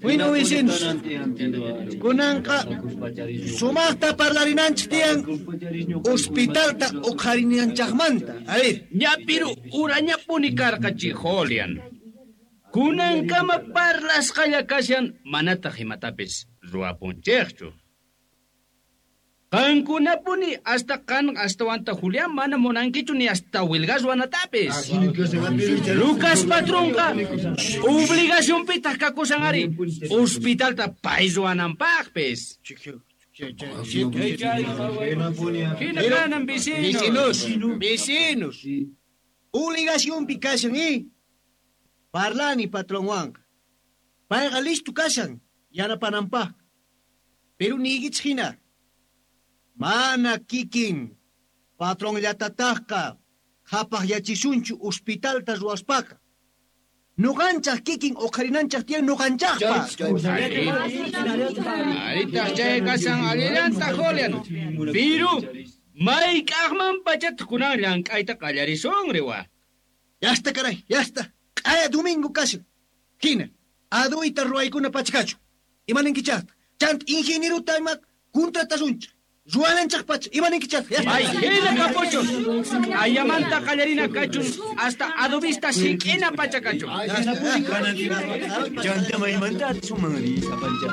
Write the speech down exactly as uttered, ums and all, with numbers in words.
Bueno, vecinos, kunanqa sumaqta parlarinanchik tiyan hospitalta uqharinanchikmanta. A ver. Ñapiru urañapuni karqa chay Julian. Kunankama parlasqalla kashan manataq imatapis ruwapunchikchu. Qankunapuni hasta qan astawanta Julián mana munankichu ni hasta wilgas ruwanatapis. Lucas patronqa obligacionpitaq kakusan ari hospitalta pay ruwananpaqpis. Hina kanan vecinos. Vecinos, vecinos. Obligacionpi kashan, eh? Parlani patronwanqa. Payqa listo kashan yanapananpaq. Pero niykichik hina. Mana kikin patronllatataqqa qhapaqyachisunchu hospitalta ruwaspaqa. Nuqanchaq kikin uqharinanchaq tiyan nuqanchaqpa. Aritaq chay kashan allillanta Julian. Piru mayk'aqman pachataq kunan llank'ayta qallarisun riwa. Ya está, caray, ya está. Q'aya domingo kashan. Hina, aduyta ruwaykuna pachakachu. Imaninkichaqta. Chanta ingenieruta ima contratasunchik. Ruwananchaq pacha, imaninkichaqta. Ya está. Ay, hina kapuchun. Ayamanta qallarina kachun hasta adobista sik'ina pacha kachun. Ya está. Chanta maymanta suman ri sapancha.